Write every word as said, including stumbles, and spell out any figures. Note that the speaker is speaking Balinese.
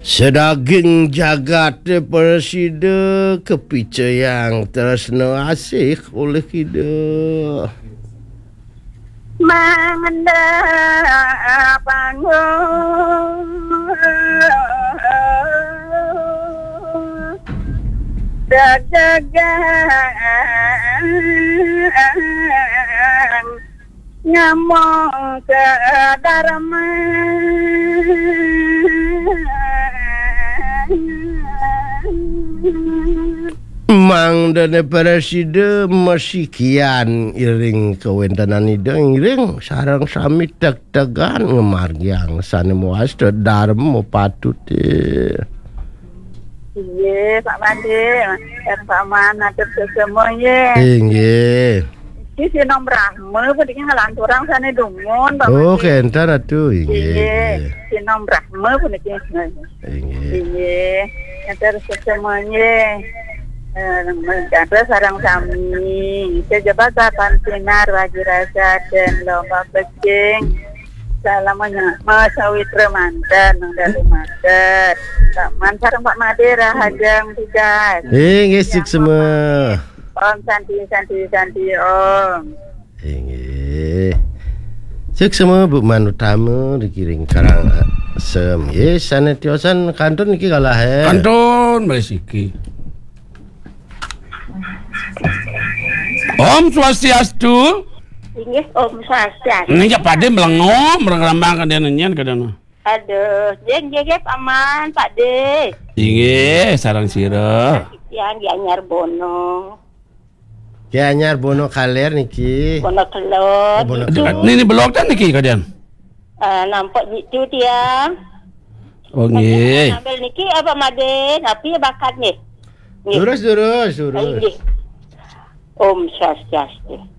Sadaging jagaté prasida kapicayang tresna asih olih Ida. Mangda panggung dagang nyambung ka darma. Mangdané prasida masikian iring kawéntenan Ida, ngiring sareng sami tegtegan ngamargiang sané mawasta darma patuté. Inggih, Pak Made, sareng Pak Man, atur sesama, nggih. Inggih. Iki Sinom Brahma puniki nglanturang sané dumun, Pak Oh, Made. Kénten atuh, inggih. Inggih, inggih. Sinom Brahma puniki. Inggih. Inggih. Atur sesama, nggih. Eh, atur sareng sami. Saya jabat sapan sinar wagi rasa dan lomba pecing. Salamnya Mas Sawitra manten, Nang Dalu manten. Pak Man sareng Pak Made rahajeng tugas. Inggih, suksma. Om Santi, Santi, Santi, Om. Inggih. Suksma Bu Man Utama dikiring Karang Sem. Nggih, sané tiosan kantun niki kalah, eh. Kantun, Mbak Siki. Om Swastiastu. Inggih, Om Swastiastu. Ini ya Pak De melengom, merengambang kadéna nyen kadéna. Aduh, nggih, nggih, nggih, Pak Man, Pak De. Inggih, sareng sira. Tiang Gianyar Bono. Gianyar Bono Kaler niki. Bono Kelot. Oh, Bono Kelot. Niki belog ten niki kadéna. Eh, nampek jitu tiang. Oh, nggih. Sambil niki apa Made, tapi bakat nggih. Nggih. Lurus, lurus, lurus. Inggih. Om Swastiastu.